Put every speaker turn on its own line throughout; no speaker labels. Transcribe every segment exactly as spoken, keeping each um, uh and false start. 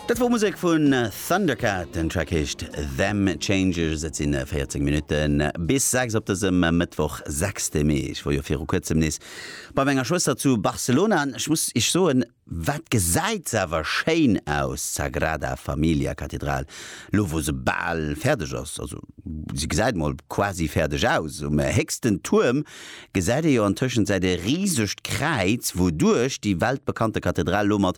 Dat wor Musek vun Thundercat, den Track heescht Them Changes. Et sinn véierzéng Minutten bis sechs op dësem Mëttwoch, sechste Mee. Ech wor jo viru kuerzem nees bei menger Schwëster zu Barcelona an ech muss iech soen, wat gesäit se awer schéin aus, d'Sagrada Familia Kathedral, lo wou se bal fäerdeg ass. Also se gesäit mol quasi fäerdeg aus. Um héchsten Tuerm gesäit ee jo an Tëschenzäit e risegt Kräiz, wouduerch déi weltbekannte Kathedral lo mat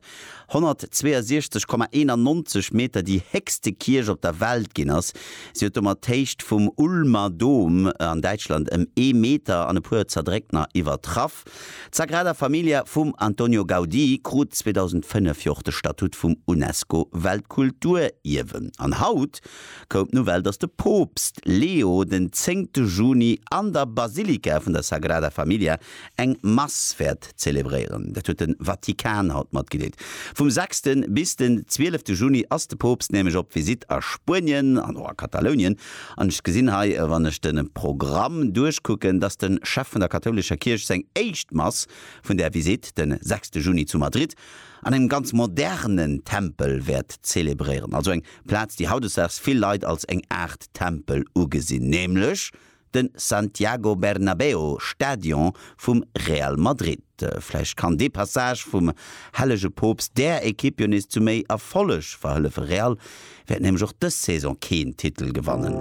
honnertzweeënsiechzeg Komma eenannonzeg Meter déi héchste Kierch op der Welt ginn ass. Si huet domat d'Héicht vum Ulmer Dom an Däitschland ëm ee Meter an e puer Zerdréckner iwwertraff. D'Sagrada Familia vum Antonio Gaudí krut zweedausendfënnef jo och de Statut vum UNESCO-Weltkulturierwen. An haut koum d'Nouvelle, datt de Poopst Leo den zéngte Juni an der Basilika vun der Sagrada Familia eng Mass wäert zelebréieren. Dat huet de Vatikan haut matgedeelt. Vum sechste bis den zwielefte Juni ass de Poopst nämlech op Visitt a Spuenien an och a Katalounien. An ech gesinn hei, wann ech de Programm duerchkucken, dass de Chef vun der kathoulescher Kierch seng éischt Mass vun där Visitt de sechste Juni zu Madrid an engem ganz modernen Tempel wäert zelebréieren. Also eng Plaz, déi hautdesdaags vill Leit als eng Aart Tempel ugesinn, nämlech de Santiago Bernabéu Stadion vum Real Madrid. Vläicht kann dee Passage vum hellege Poopst där Ekipp jo nees zu méi Erfolleg verhëllefen. Real wäert nämlech och dës Saison keen Titel gewannen.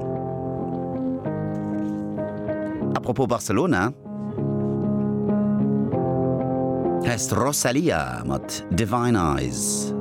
Apropos Barcelona, hei ass d'Rosalía mat Divine Eyes.